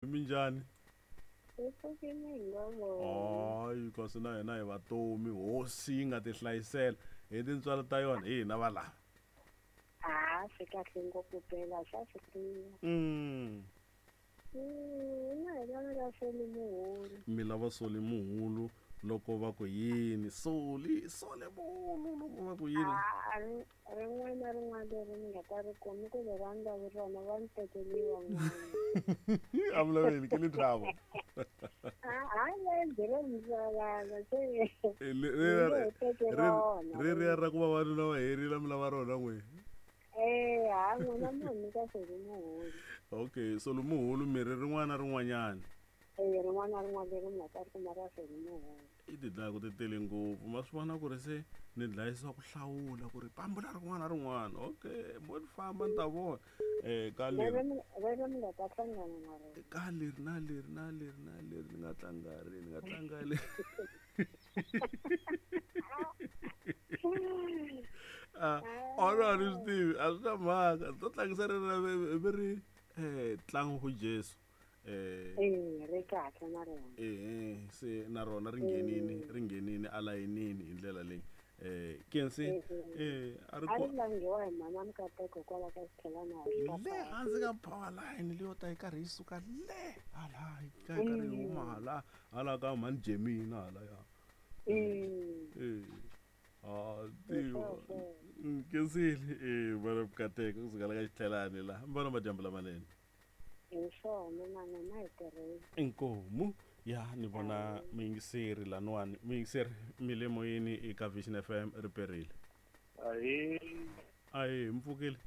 Minjhani? Hi pfukile hi nga vona. Hayi kasi na hina hi vatomi hosi yi nga ti hlayisela hi tintswalo ta yona hi hina valava. Ha swi kahle ngopfu phela swa swi tiva. Na hi lava la Soli Muhulu. Mi lava Soli Muhulu loko va ku yini? Soli, Soli Muhulu loko va ku yini? A rin'wana na rin'wana leri ni nga ta ri kumi ku leri a ni lavi rona va ni tekeliwa n'wana. A mi laveli ke le trouble. A le ro mi se ri riya ra ku vavanuna va herile mi lava rona n'we. Eh, ha n'wina mo nyika Soli Muhulu. Okay, Soli Muhulu mirhi rin'wana na rin'wanyana. Eh, rin'wana na rin'wana leri mi nga ta ri kuma ra Soli Muhulu. I ti dlaya ku ti tele ngopfu ma swi vona ku ri se ni dlayisiwa ku hlawula ku ri pambula rin'wana na rin'wana okay mo ni famba ni ta vona um ka leri rero mi nga ta hlangana na rona ka leri na leri na leri na leri ni nga tlanga ri ni nga tlanga leri Ah, ono a ni swi tivi a swi na mhaka ni to tlangisa ri ra ve ri um tlangu ku jesu um Eh, ri kahle na rona. ehe se na rona ri nghenini ri nghenini alayinini hi ndlela leyi um kensi eh a ri A ri langiwa hi mhana Mukateko kwala ka xithelana le hansi ka power line leyo ta yi karhi yi suka le hala yi ka yi karhi yi huma hala hala ka mhani Jemina hala ya eh a tiva kensile eh vana Mukateko kusuka la ka xithelani la vana madyambu lamanene Hi swona na n'wina hi tirhile. Inkomu ya ni vona muyingiseri laniwani muyingiseri mi le moyeni eka Vision FM ri perile. Ahee. Ahee mi pfukile?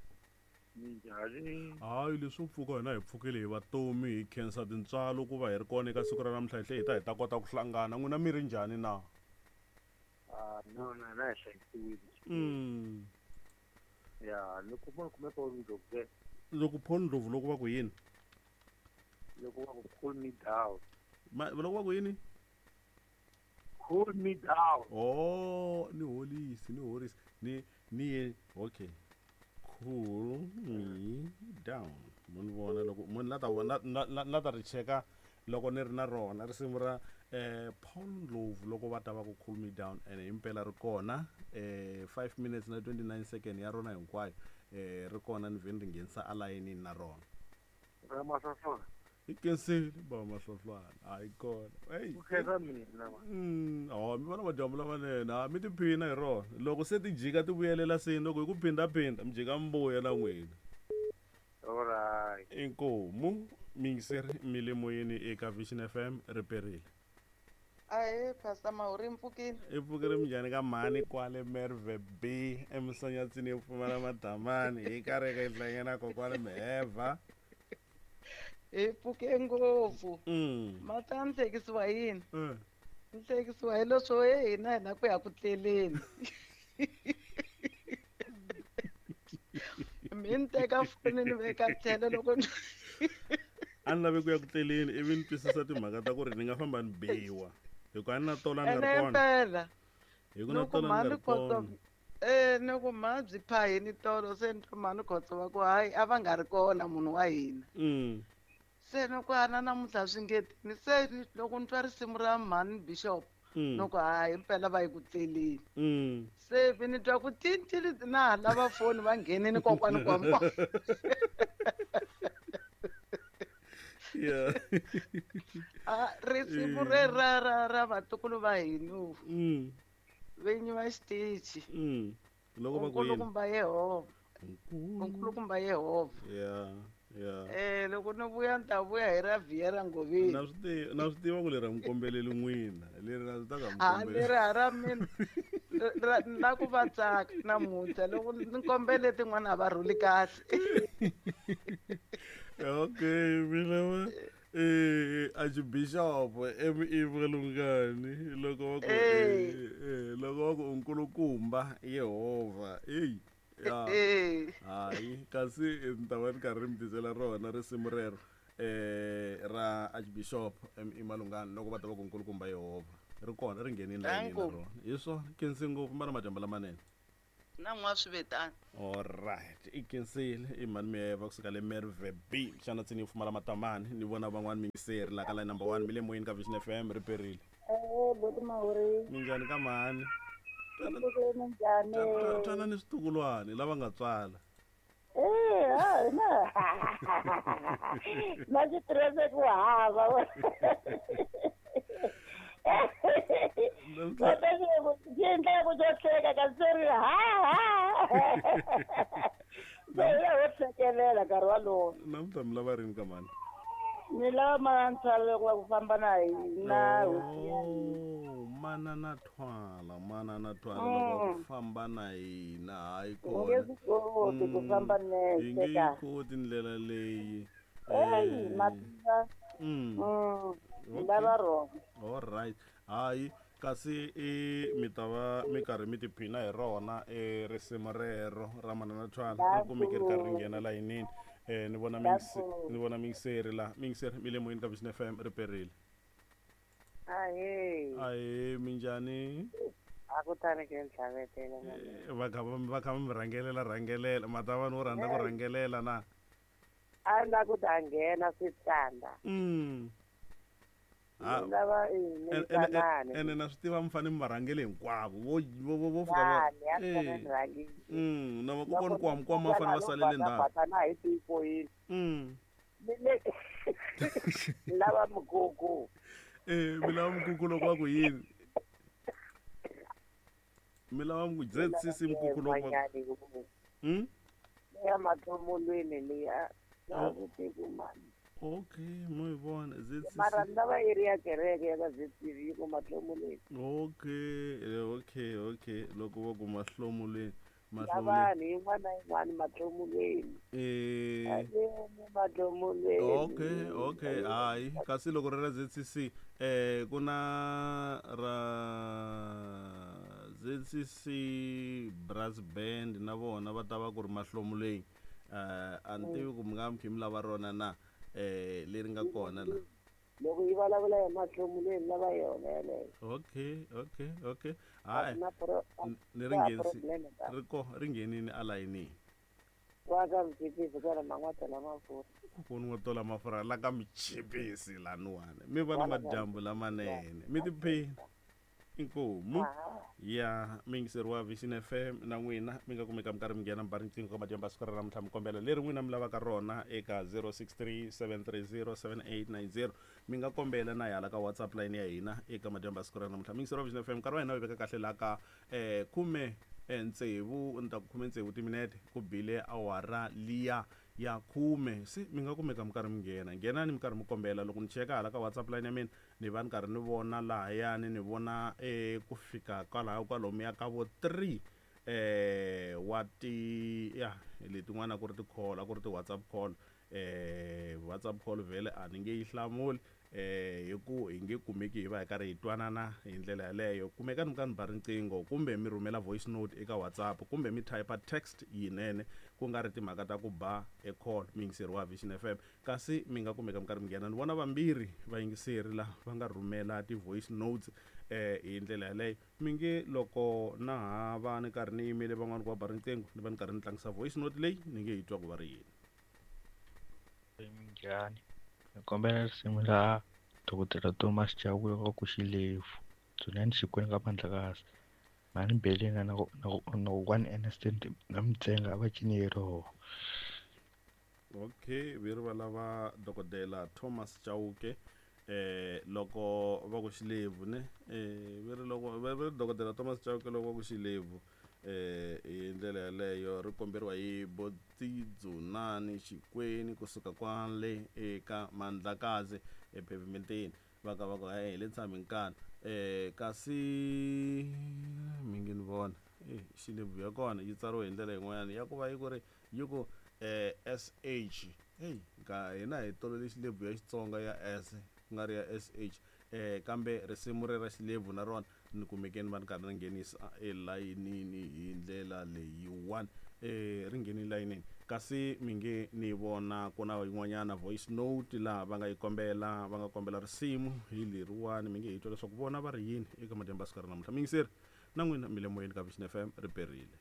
Minjhani? Hayi leswo pfuka hina hi pfukile hi vatomi hi khensa tintswalo ku va hi ri kona eka siku ra namuntlha hi tlhe hi ta hi ta kota ku hlangana n'wina mi ri njhani na? Ah, no na na hi hlayisiwile. Ya loko mo kume Paul Ndlovu ke. Loko Paul Ndlovu loko va ku yini? Loko va ku cool me down. Ma loko va ku yini? Cool me down. Oh, ni holisi, ni horisi. Ni ni ye okay. Cool me down. Mo ni vona loko mo ni la ta vona la ta ri cheka loko ni ri na rona risimu ra eh Paul Ndlovu loko va ta va ku cool me down and himpela ri kona eh 5 minutes na 29 second ya rona hinkwayo eh ri kona ni vheni ri nghenisa alayinini na rona Ra Mahlohlwana. Hi kensile ba Mahlohlwana hayi kona hey Ku khensa mina ma. Oh mi vona madyambu lamanene ha mi tiphina hi rona loko se ti jika ti vuyelela seni loko hi ku phindaphinda mi jika mi vuya na n'wina Alright. Inkomu miyingiseri mi le moyeni eka Vision FM ri perile. Ahee Pastor Mahuri mi pfukile? I pfukile minjhani ka mhani kwale Merwe B eMsanyatsini yo pfumala madamani hi karhi ka hlangana kokwani Mheva. Hi pfuke ngopfu. Ma ta ni hlekisiwa hi yini? Ni hlekisiwa hi leswo he hina hi la ku ya ku tleleni. Mi ni teka foni ni veka tlhelo loko ni A ni lave ku ya ku tleleni ivi ni twisisa timhaka ta ku ri ni nga famba ni biwa hi ku a ni na tola ni nga ene ri kona impela hi ku na ni ku tola ni nga mhani ri khotso kona eh ni ku mhani byi phahini tolo se ni twa mhani khotso va ku hayi a va nga ri kona munhu wa hina se ni ku ana namuntlha swi nge tini se ni- loko ni twa risimu ra mhani bishop ni ku hayi impela va yi ku tleleni se vi ni twa ku tintili na ha lava foni va nghenini kokwani kwambo yeah Ah, risimu re ra ra ra vatukulu va hina vinyi va xitichi loko va ku yini nkulukumba Yehovha nkulukumba Yehovha yeah yeah eh loko ni vuya ni ta vuya hi ra Viera Ngoveni na swi tiva na swi tiva ku leri a mi kombeleli n'wina leri na swi ta ka mi ha kombeleli leri ha ra mina na ku va tsaka namuntlha loko ni kombele tin'wana a va rhuli kahle okay mina va eh archbishop M.E. Malungani loko va ku eh loko va ku nkulukumba Yehovha ey ya hayi kasi ni ta va ni karhi mi tisela rona risimu rero eh ra archbishop M.E. Malungani loko va ta va ku nkulukumba Yehovha ri kona ri nghenini layinini na Danko. rona hi swona khensi ngopfu mara madyambu lamanene. Na n'wa swi vetani. Alright, i khensile i mhani Miyeva kusuka le Merwe B. Xana tsini yi pfumala matamani? Ni vona van'wani miyingiseri la ka line number 1 mi le moyeni ka Vision FM ri perile. Eh, boti Mahuri. Minjhani ka mhani? Mpfukeni minjhani? Twana ni switukulwani lava nga tswala. Eh, ha na. Na xitirese ku hava. Xi endla ku xo hleka kasi se ri ha ha. Se ya ho hlekelela nkarhi walowo. Namuntlha mi lava rini ka mhani? Ni lava manana loko va ku famba na hina hosi ya hina. Oh, manana thwala, manana thwala loko va ku famba na hina hayi Hi nge kona. swi koti ku famba Hi nexe nge yi ka. koti ndlela leyi. Eyi Eh, mativa. Ni lava rona. All right. Hayi kasi i mi ta va mi karhi mi tiphina hi rona e risimu rero ra manana thwala ri kumeke ri karhi ri nghena layinini. Ni vona ni vona miyingiseri la miyingiseri mi le moyeni ka Vision FM ri perile. Ahee. Ahee, minjhani? A ku tani ke ni tlhavetela Va kha va kha va mi rhangelela rhangelela ma ta va no rhandza ku rhangelela na? A ni la ku ta nghena swi tsandza. Ni lava Ene ene na swi tiva mi fanele mi va rhangele hinkwavo vo vo vo vo fika va Ya ni ni rhangile. Na vakokwana kwamakwama va fanele va salele ndzhaku. Na hi tifoyini. Ni le ni lava mugugu. Eh, mi lava mukuku loko va ku yini? Mi lava muku ZCC mukuku loko va Ya matlomolweni liya. Na swi tivi mani. Okay, mo yi vona ZCC. Mara ni lava yi ri ya kereke ya ka ZCV yi ku matlomolweni. Okay, okay, okay. Loko va ku mahlomulweni, mahlomulweni. Lavani yin'wana na yin'wana matlomolweni. Eh. Ayeni matlomolweni. Okay, okay, hayi. Kasi loko ri ra ZCC ku na ra ZCC Brass Band na vona va ta va ku ri mahlomulweni. A ni tivi ku mi nga mi kha mi lava rona na leri nga kona la. Loko yi vulavula hi mahlomulweni lava yona yeleyo. Okay, okay, okay. Hayi. Ni ri Na nghenisi problem ta. ri ko ri nghenini alayinini. Wa ka mchipisi kwala man'watela mafurha. Kokwana wa tola mafurha la ka michipisi laniwani. Mi va na madyambu lamanene. Mi tiphina. Inkomu ya miyingiseri wa Vision FM na n'wina mi nga kumeka mi karhi mi nghena mi ba riqingho ka madyambu ya siku ra namuntlha mi kombela leri n'wina mi lavaka rona eka 0637307890 mi nga kombela na hala ka WhatsApp line ya hina eka madyambu ya siku ra namuntlha. Miyingiseri wa Vision FM nkarhi wa hina wu veka kahle laha ka 16 ni ta ku 16 timinete ku bile awara liya ya 10 se mi nga kumeka mi karhi mi nghena nghenani mi karhi mi kombela loko ni cheka hala ka WhatsApp line ya mina ni va ni karhi ni vona lahayani ni vona ku fika kwalaho kwalomuya ka vo 3 wa ti ya letin'wana ku ri ti-call a ku ri ti-WhatsApp call WhatsApp call vhele a ni nge yi hlamuli hi ku hi nge kumeki hi va hi karhi hi twanana hi ndlela yaleyo. Kumekani mi ka ni ba riqingho kumbe mi rhumela voice note eka WhatsApp kumbe mi type text yinene ku nga ri timhaka ta ku ba e call miyingiseri wa Vision FM kasi mi nga kumeka mi karhi mi nghena. Ni vona vambirhi vayingiseri la va nga rhumela ti-voice notes hi ndlela yaleyo. Mi nge loko na ha va ni karhi ni yimele van'wani ku va ba riqingho ni va ni karhi ni tlangisa voice note leyi ni nge yi twa ku va ri yini. Minjhani? Ni kombela risimu ra Dokodela Thomas Chauke wa ku Xilevu. Dzunani Xikwembu ka Mandlakazi. Mhani Belina na kokwana Ernest na Mutsenga a va cini hi roho. Okay, vi ri va lava Dokodela Thomas Chauke loko va ku Xilevu ne vi ri loko va ri Dokodela Thomas Chauke loko va ku Xilevu hi ndlela yaleyo ri komberiwa hi Botidzunani Xikweni kusuka kwale eka Mandlakazi ephevimenteni va ka va ku hi le tshami nkana kasi mi nge ni vona Xilevu ya kona yi tsariwe hi ndlela yin'wanyana ya ku va yi ku ri yi ku SH hey ka hina hi tolovele Xilevu ya Xitsonga ya S ku nga ri ya SH kambe risimu ri ra Xilevu na rona ni kumekeni va ni karhi ni nghenisa elayinini hi ndlela leyiwani ri ngheni layinini kasi mi nge ni vona ku na yin'wanyana voice note laha va nga yi kombela va nga kombela risimu hi leriwani mi nge hi twa leswaku vona va ri yini eka madyambu ya siku ra namuntlha. Miyingiseri na n'wina mi le moyeni ka Vision FM ri perile.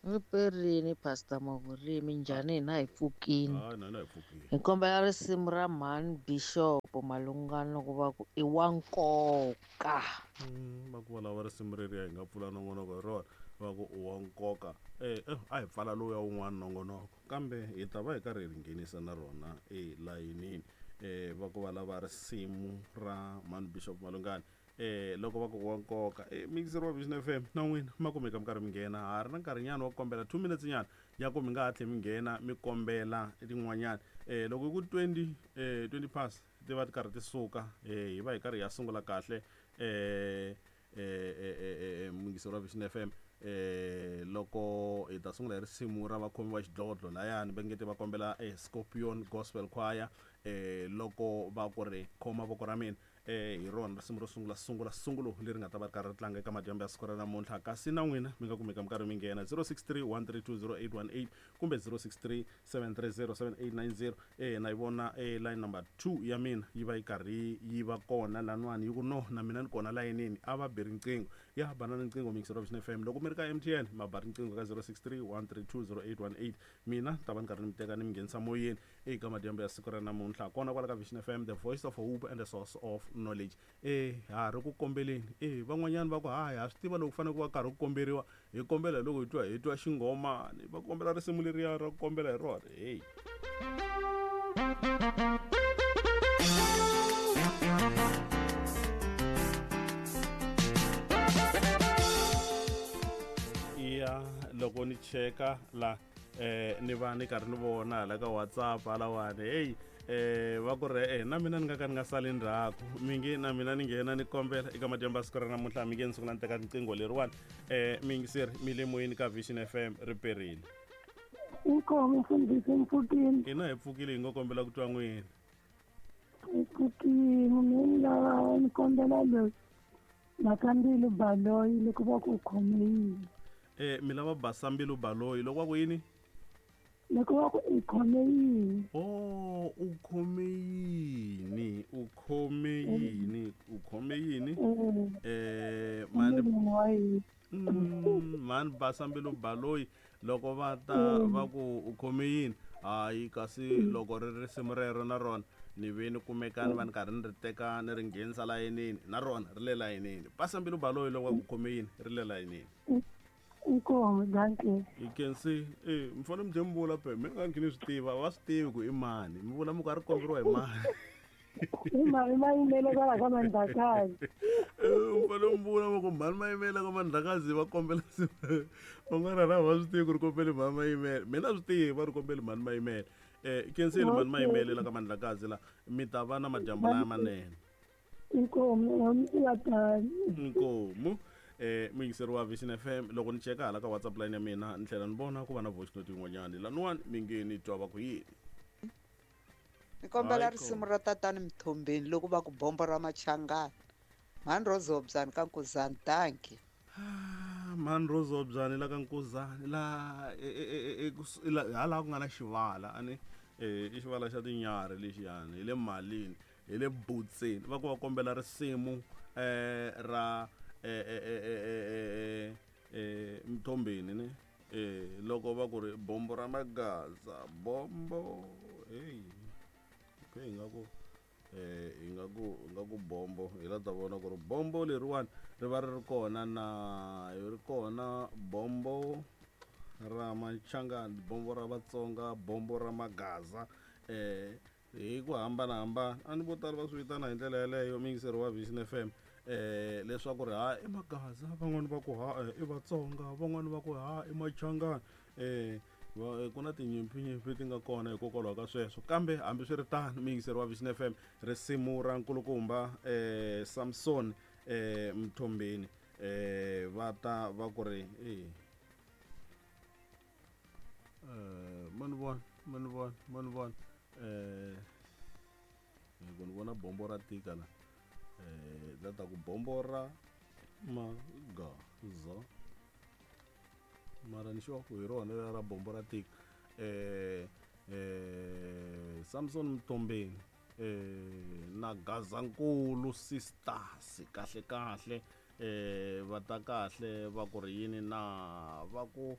Riperini Pastor Mavurimi, njhani hina hi pfukini. Hayi na hi pfukile. Hi kombela risimu ra mhani Bishop Malungana loko va ku i wa nkoka. Va ku va lava risimu reriya hi nga pfula nongonoko hi rona, va ku u wa nkoka. A hi pfala lowuya wun'wana nongonoko, kambe hi ta va hi karhi hi ri nghenisa na rona elayinini. Va ku va lava risimu ra mhani Bishop Malungana. Loko va ku wa nkoka, mixer wa Vision FM na n'wina ma kumeka mi karhi mi nghena. Ha ri na nkarhinyana wa ku kombela 2 minutes nyana ya ku mi nga hatli mi nghena mi kombela tin'wanyana. Loko hi ku 20 past ti va ti karhi ti suka, hi va hi karhi ya sungula kahle mixer wa Vision FM. Loko hi ta sungula hi risimu ra vakhomi va xidlodlo layani va nge te va kombela Scorpion Gospel Choir, loko va ku ri khoma voko ra mina, hi rona risimu ro sungula sungula sungulo leri nga ta va ri karhi ri tlanga eka madyambu ya siku ra namuntlha. Kasi na n'wina mi nga kumeka mi karhi mi nghena 063 132 0818 kumbe 063 730 7890. Na yi vona line number 2 ya mina yi va yi karhi yi va kona lanwani, yi ku no na mina ni kona layinini, a va bi riqingho. Ya bana riqingho mixer wa Vision FM. Loko mi ri ka MTN ma ba riqingho ka 063 132 0818, mina ta va ni karhi ni mi teka ni mi nghenisa moyeni eka madyambu ya siku ra namuntlha kona kwala ka Vision FM, the voice of hope and the source of knowledge. Ha ri ku kombeleni. Van'wanyana va ku hayi ha swi tiva loko ku fanele ku va karhi ku komberiwa, hi kombela loko hi twa xinghomani, va kombela risimu leriya ra ku kombela hi rona. Hey. Ya loko ni cheka la ni va ni karhi ni vona hala ka WhatsApp halawani, hey, va ku ri na mina ni nga ka ni nga sali ndzhaku, mi nge na mina ni nghena ni kombela eka madyambu ya siku ra namuntlha, mi nge ni sungula ni teka riqingho leriwani. Miyingiseri mi le moyeni ka Vision FM, riperile. Inkomo mfundhisi, mpfukile. Hina hi pfukile, hi ngo kombela ku twa n'wina. Hi pfukile, mi lava ni kombela loyi Makambilu Baloyi loko va ku khome yini. Mi lava Basambilu Baloyi loko va ku yini? Loko va ku i khome yini. Oh, u khome yini? U khome yini? U khome yini? Mani mani Basambilu Baloyi loko va ta va ku u khome yini? Hayi kasi loko ri risimu rero na rona ni ve ni kumeka ni va ni karhi ni ri teka ni ri nghenisa layinini, na rona ri le layinini. Basambilu Baloyi loko va ku khome yini ri le layinini. Inkomo, dankie. You can see, mi fanele mi tlhe mi vula pe, mi nga ni swi tiva, va swi tivi ku i mani, mi vula mi ku a ri komberiwa hi mani. I mani Mayimele kwala ka Mandlakazi. Mi fanele mi vula mi ku mhani Mayimele ka Mandlakazi va kombela van'wana ra va swi tivi ku ri kombele mhani Mayimele, mina swi tivi va ri kombele mhani Mayimele. Kenseli mhani Mayimele la ka Mandlakazi la, mi ta va na madyambu laya manene. Inkomo, ya tani. Inkomo. Muyingiseri wa Vision FM, loko ni cheka hala ka WhatsApp line ya mina ni tlhela ni vona ku va na voice note yin'wanyana laniwani mi nge ni twa va ku yini. Ni kombela risimu ra tatani Mthombeni loko va ku bombo ra Machangana. Mhani Rozobyani ka Nkuzani, dankie. Mhani Rozobyani la ka Nkuzani la hala ku nga na xivala ani, i xivala xa tinyarhi lexiyani, hi le malini, hi le butseni, va ku va kombela risimu ra Mthombeni ne, loko va ku ri bombo ra Magaza, bombo, hey, okay, ingaku ingaku bombo, hi la ta vona ku ri bombo leriwani ri va ri ri kona na ri kona bombo ra Machangani, bombo ra Vatsonga, bombo ra Magaza, hi ku hambanahambana. A ni vo tala va swi vitana hi ndlela yeleyo muyingiseri wa Vision FM, leswaku ri ha i Magaza, van'wani va ku ha i Vatsonga, van'wani va ku ha i Machangani. Ku na tinyimpfinyimpi ti nga kona hikokwalaho ka sweswo. Kambe hambiswiritano muyingiseri wa Vision FM, risimu ra nkulukumba Samson Mthombeni, va ta va ku ri mani vona ku ni vona bombo ra tika la, la ta ku bombo ra Magaza, mara ni sure ku hi rona lera ra bombo ra tika. Samson Mthombeni na Gazankulu Sisters, kahle kahle, va ta kahle va ku ri yini na va ku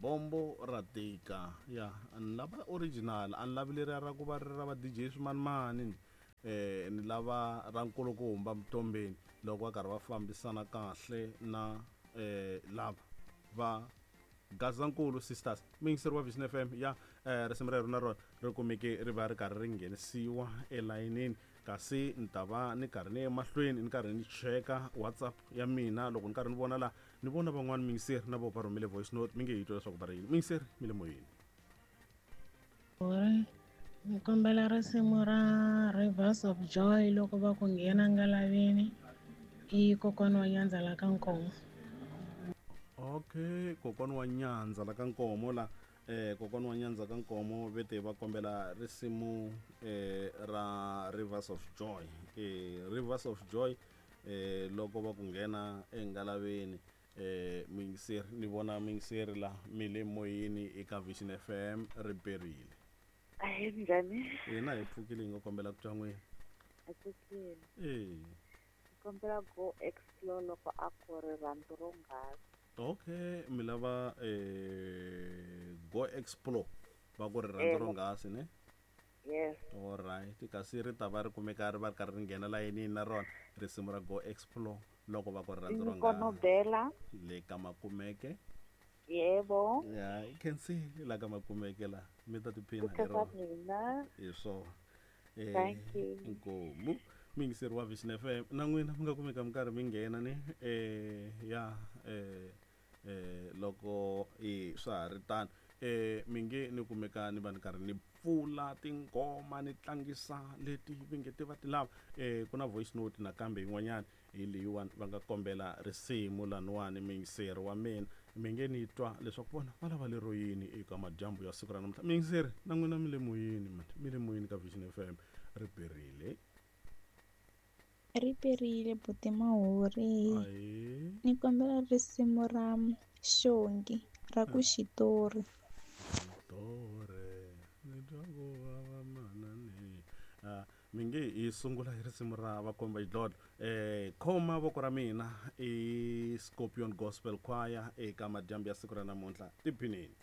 Bombo ra tika ya ni lava original, a ni lavi leriya ra ku va ri ra va DJ swimanimani, ni lava ra nkulukumba Mtombeni loko va karhi va fambisana kahle na lava va Gazankulu Sisters. Muyingiseri wa Vision FM ya risimu rero na rona ri kumeke ri va ri karhi ri nghenisiwa elayinini, kasi ni ta va ni karhi ni ya emahlweni ni karhi ni cheka WhatsApp ya mina. Loko ni karhi ni vona la, ni vona van'wani muyingiseri na vo va rhumele voice note, mi nge yi twa leswaku va ri yini. Muyingiseri, mi le moyeni. Ri ni kombela risimu ra Rivers of Joy loko va ku nghena ngalaveni, i kokwana wa Nyandza la ka Nkomo. Okay, kokwana wa Nyandza la ka Nkomo la, kokwana wa Nyandza ka Nkomo vete va kombela risimu ra Rivers of Joy, Rivers of Joy, loko va ku nghena engalaveni. Muyingiseri, ni vona muyingiseri la mi le moyeni eka Vision FM, ri perile. Ahee, minjhani? Hina hi pfukile, hi nga kombela ku twa n'wina. Hi pfukile. Ni kombela go explore loko a ku ri rhandzu ro nghasi. Okay, mi lava go explore va ku ri rhandzu ro nghasi ne? Yes. All right, kasi ri ta va ri kumeka ri va ri karhi ri nghena layinini na rona risimu ra go explore loko va ku ri rhandzu ro nghasi. Nkonobela. Le ka Makumeke. Yebo. Ya, i khensile la ka Makumeke la, mi ta tiphina hi Ku rona. mina. Hi swona. Thank you. Inkomu. Muyingiseri wa Vision FM na n'wina mi nga kumeka mi karhi mi nghena ni ya loko i swa ha ri tano, mi nge ni kumeka ni va ni karhi ni pfula tinghoma ni tlangisa leti vi nge ti va ti lava. Ku na voice note nakambe yin'wanyana hi leyiwani va nga kombela risimu laniwani. Muyingiseri wa mina, mi nge ni twa leswaku vona va lava lero yini eka madyambu ya siku ra namuntlha. Muyingiseri na n'wina mi le moyeni, mani mi le moyeni ka Vision FM, ri perile. Ri perile buti Mahuri. Ahee. Ni kombela risimu ra Xongi ra ku xitori. Xitori ni twa ku vava manani. Mi nge hi sungula hi risimu ra Vakomba Xidlodlo. Khoma voko ra mina i Scorpion Gospel Choir eka madyambu ya siku ra namuntlha. Tiphinini.